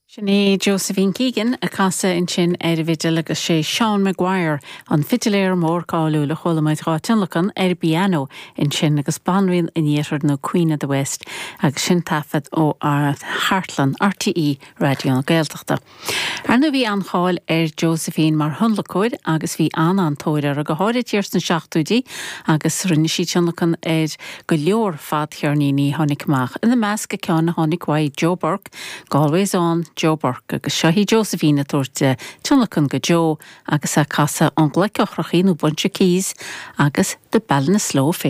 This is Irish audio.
Sin í Josephine Keegan ag casadh ansin ar an bhfidil agus sé Seán Maguire, an fidiléir mór cáiliúil a chuala muid dhá tionlacan ar an bpianó ansin agus Banríon an Iarthair nó Queen of the West agus sin taifead ó chartlann RTÉ Raidió na Gaeltachta. Ar ndóigh bhí an-cháil ar Josephine mar thionlacóir agus bhí an-an-tóir uirthi, go háirid thiar sna seachtóidí agus rinne sí tionlacan ar go leor fadcheirníní a tháinig amach, ina measc an ceann a tháinig uaidh Joe Burke, Galway's Own Joe Burke agus seo í Josephine ag tabhairt tionlacan go Joe agus é ag casadh An Ghlaic Eochrachaí nó Bunch of Keys agus The Ballinasloe Fair.